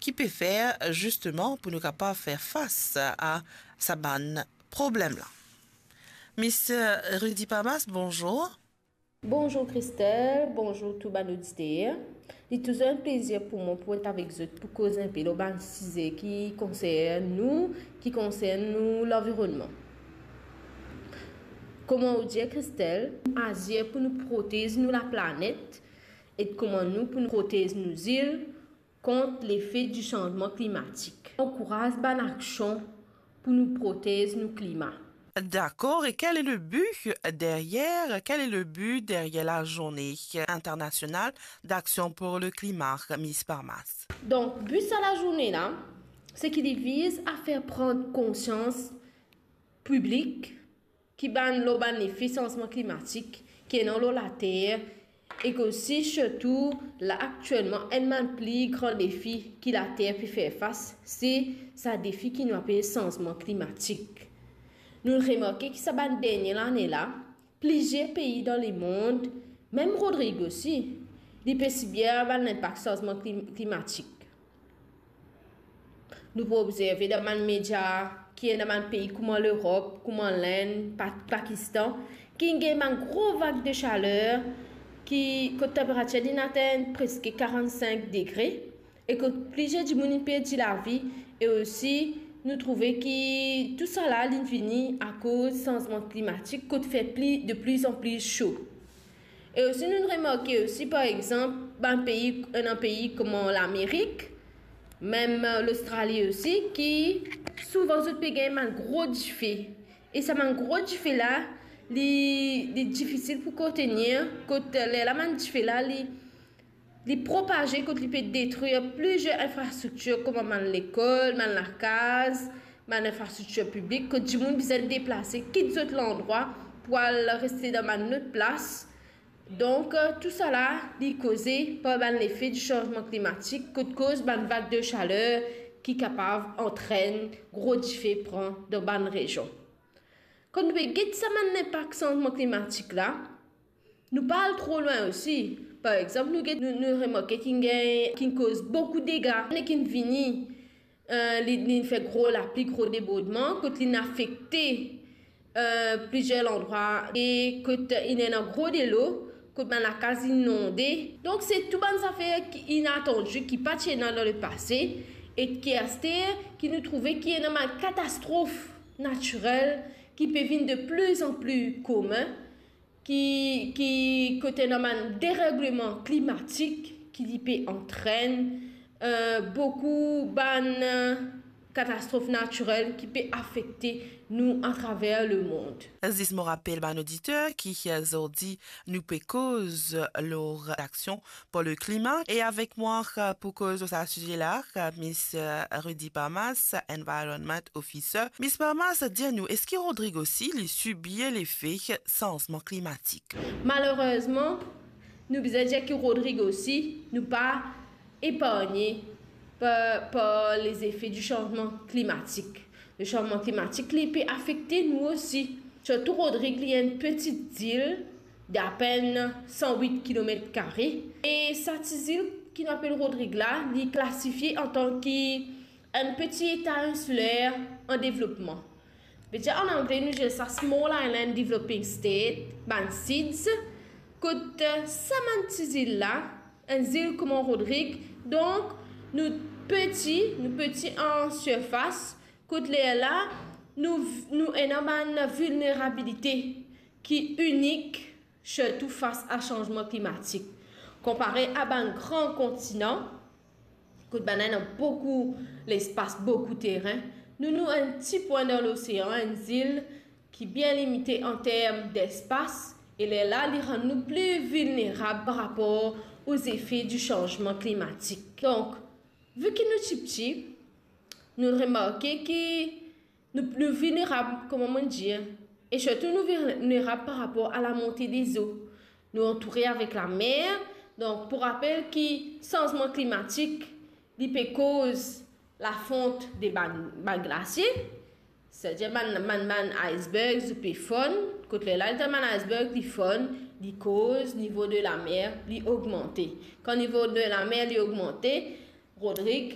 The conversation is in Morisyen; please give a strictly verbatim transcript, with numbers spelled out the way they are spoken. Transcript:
ki pe fer zisteman pou nou kapav fer fas a sa bann problem la. Miss Rudy Parmas, bonzour. Bonzour Christelle, bonzour tou bann oditer. Li touzour enn plezir pou mwa pou et avek zot pou koz enpe lor bann size ki konsern nou, ki konsern nou lanvironnman. Kouma ou dir Christelle, azir pou nou protez nou laplanet e kouma nou pou nou protez nou zil kont lefe di sanzman klimatik. Ankouraz bann aksion pou nou protez nou klima. D'accord, et quel est le but derrière, quel est le but derrière la journée internationale d'action pour le climat, Miss Parmas? Donk, bi sa lazourne la, se ki li viz a fer pran konsians piblik ki bann lor bann lefe sanzman klimatik ki ena lor later, ek osi sirtou la aktielman enn bann pli gran lefi ki later pe fer fas, se sa defi ki nou apel sanzman klimatik. Nou remarke ki sa bann dernie lane la, plizier pei dan lemond, mem Rodrig osi, li pe sibir bann linpak sanzman klim-, klimatik. Nou pou obzerve dan bann media ki ena bann pei kouma Lerop, kouma Lenn, Pa-, Pakistan, ki gagn bann gro vag de saler, ki, kot tenperatir li atenn preske karant-sink degre, e kot plizier dimoun inn perdi lavi, e osi nou trouve ki tousala li vini akoz sanzman klimatik, kot fer pli, de pli an pli so. E osi nou remarke osi, par exanp, bann pei, ena pei kouma Lamerik, mem, eh, Lostrali osi, ki souvan zot pe gagn bann gro dife. E sa bann gro dife la, li, li difisil pou kontenir, kot, eh, lerla bann dife la, li, li propaze, kot li pe detrir plizier infrastriktir, kouma bann lekol, bann lakaz, bann infrastriktir piblik, kot dimoun bizin deplase, kit zot landrwa pou al reste dan bann lot plas. Donk, eh, tousala, li koze par bann lefe di sanzman klimatik, kot koz bann vag de saler ki kapav antrenn gro dife pran dan bann rezion. Kan nou pe get sa bann linpak sanzman klimatik la, nou pa al tro lwin osi. Par exanp, nou get, nou, nou remarke ki gagn, ki koz boukou dega, ki vini, eh, li, li fer gro lapli, gro debordman, kot li afekte, eh, plizier landrwa, e kot inn ena gro delo, kot bann lakaz inonde. Donk, se tou bann zafer ki inatandi, ki pa ti ena dan lepase, e ki aster, ki nou trouve ki ena bann katastrof natirel ki pe vinn de pli an pli komin, ki, ki kot ena bann deregleman klimatik ki li pe antrenn, eh, boukou bann, eh, katastrof natirel ki pe afekte nou atraver lemond. Zis mo rapel bann oditer ki, eh, zordi nou pe koz lor aksion pour le climat. E avek mwa, eh, pou koz lor sa size la, eh, Miss, eh, Rudy Parmas, Environment Officer. Miss Parmas, dir nou, eski Rodrig osi, li sibir lefe sanzman klimatik? Malerezman, nou bizin dir ki Rodrig osi, nou pa eparnie par, par lezefe di sanzman klimatik. Le sanzman klimatik, li pe afekte nou osi. Sirtou Rodrig, li enn peti zil d'apenn san wit kilomet kare. E sa ti zil ki nou apel Rodrig la, li klasifie antan ki enn peti eta insiler an devlopman. Vedir an angle, nou dir sa Small Island Developing State, bann SIDS, kot, eh, sa bann ti zil la, enn zil kouma Rodrig, donk nou peti, nou peti an sirfas, kot lerla, nou, nou ena bann vilnerabilite ki inik, sirtou fas a sanzman klimatik. Konpare a bann gran kontinan, kot bann ena boukou lespas, boukou terin, nou, nou enn ti pwin dan losean, enn zil ki bien limite an term despas, e lerla, li rann nou pli vilnerab par rapor o zefe di sanzman klimatik. Donk, vi ki nou tipti, nou remarke ki nou, nou vilnerab, kouma mo dir, e sirtou nou vilnerab par rapor a lamonte dezo. Nou antoure avek lamer, donk pou rapel ki sanzman klimatik, li pe koz lafont de bann, bann glasie, setadir bann, bann, bann iceberg, li pe fonn, kot lerla, letan bann iceberg, li fonn, li koz nivo de lamer, li ogmante. Kan nivo de lamer, li ogmante, Rodrig,